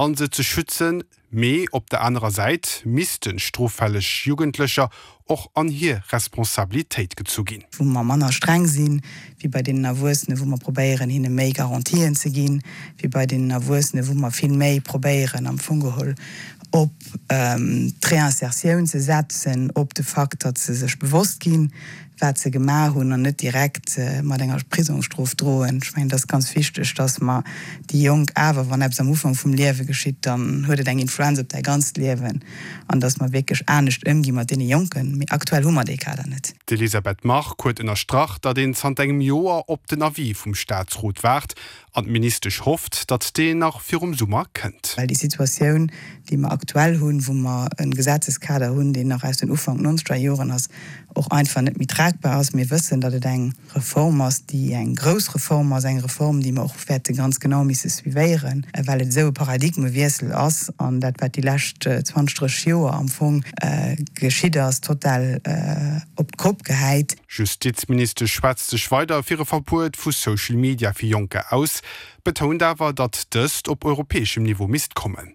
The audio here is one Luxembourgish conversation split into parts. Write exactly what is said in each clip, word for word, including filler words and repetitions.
an se ze schützen, mee op der anerer Säit missten stroffälleg Jugendlecher och an hir Responsabilitéit gezu ginn. Wou mer manner streng sinn, wéi bei deenen Erwuessenen, wou mer probéieren, hinne méi Garantien ze ginn, wéi bei deenen Erwuessenen, wou mer vill méi probéieren, am Fong geholl op d'Reinsertioun ze setzen, op de Fakt, datt se sech bewosst ginn, wat se gemaach hunn an net direkt mat enger Prisongsstrof droen. Ech mengen, et ass ganz wichteg, datt mer déi Jonk awer, wann eppes am Ufank vum Liewe geschitt, dann huet et eng Influenz op däi ganzt Liewen, an datt mer wierklech anescht ëmgi mat deene Jonken. Mee aktuell hu mer dee Kader net. D'Elisabeth Margue huet ënnerstrach, datt een zanter engem Joer op den Avis vum Staatsrot waart an d'Ministesch hofft, datt deen nach virum Summer kënnt. Well déi Situatioun, déi mer aktuell hunn, wou mer e Gesetzeskader hunn, deen nach aus den Ufank nonzeger Joren ass, och einfach net méi tragbar ass. Mir wëssen, datt et eng Reform ass, déi eng grouss Reform ass, eng Reform, déi mer och wäerte ganz genau misse suivéieren, well et esou e Paradigmewiessel ass an dat, wat déi lescht zwanzeg, drësseg Joer am Fong geschitt ass, total op d'Kopp gehäit. D'Justizministesch schwätzt sech weider fir e Verbuet vu Social Media fir Jonker aus, betount awer, datt dëst op europäeschem Niveau misst kommen.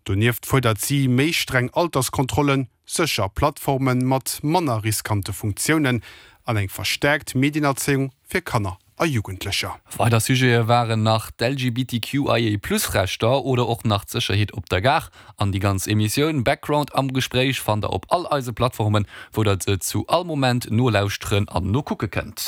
Donieft fuerdert si méi streng Alterskontrollen, sécher Plattforme mat manner riskante Funktiounen an eng verstäerkt Medienerzéiung fir Kanner a Jugendlecher. Weider Sujete waren nach d'L G B T Q I A Plus Rechter oder och nach d'Sécherheet op der Gare. An déi ganz Emissioun Background am Gespréich fannt der op all eise Plattformen, wou der se zu all Moment nolauschteren an nokucke kënnt.